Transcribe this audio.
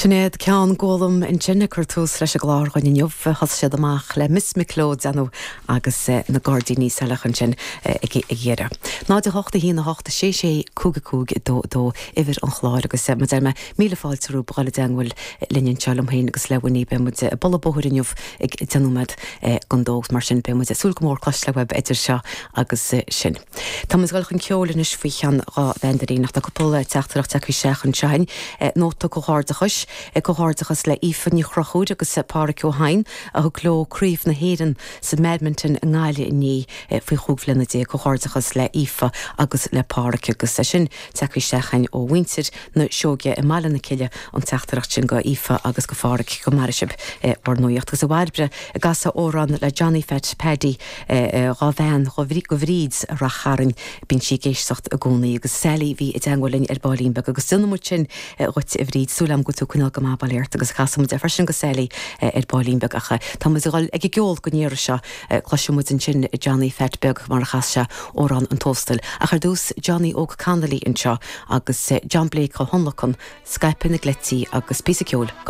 Sinéad Ceann Gólaim ansin ag cur tús leis an gclár dhúinn inniu. Thosaigh siad amach le Miss Mick Leo agus na Gairdíní Saileach ansin ag deireadh. 0 8 1 8 6 6 5 5 2 2 uimhir an chláir agus mar a deir mé, míle fáilte romhaibh a dhul i dteangmháil linn anseo liom féin agus le Winnie. Beidh muid ag bualadh bóthair inniu ag 10 nóiméad don dó agus mar sin beidh muid ag súil go mór cloisteáil uaibh idir seo agus sin. Tá muid ag dul chun ceoil anois faoi cheann dhá bhandailín ach tá cúpla teachtaireacht tagtha isteach anseo againn. Nóta comhghairdeachais, Comhghairdeachas le Aoife Ní Chonchúir agus Páraic Ó hEidhin a thug leo Craobh na hÉireann sa mBadminton i nGaillimh inné faoi chúig bhliana déag. Comhghairdeachas le Aoife agus le Páraic agus é sin tagtha isteach againn ó mhuintir na Seoige i mBaile na Cille an teachtaireacht sin go Aoife agus go Pháraic. Go maire sibh bhur nuaíocht. Agus a Bhairbre an gcasfá amhrán le Johnny Phat Paddy dhá bhean go Bhríd i Rath Chairn. Bíonn sí ag éisteacht i gcónaí. Agus Sally bhí i dteangmháil linn ar baillín beag agus déanfaidh muid sin dhuit a Bhríd. Súil agam go bhfuil tú ag coinneáil go maith bail ort agus casfaidh muid é freisin go Sally ar baillín beag ach tá muid ag dul ag an gceol don iarraidh seo. Cloisfidh muid ansin Johnny Phat Beag mar a chas sé Amhrán an Tóstail. Ach ar dtús Johnny Óg Connolly anseo agus John Blake á thionlacan, Scaipeadh na gCleití agus píosa ceoil.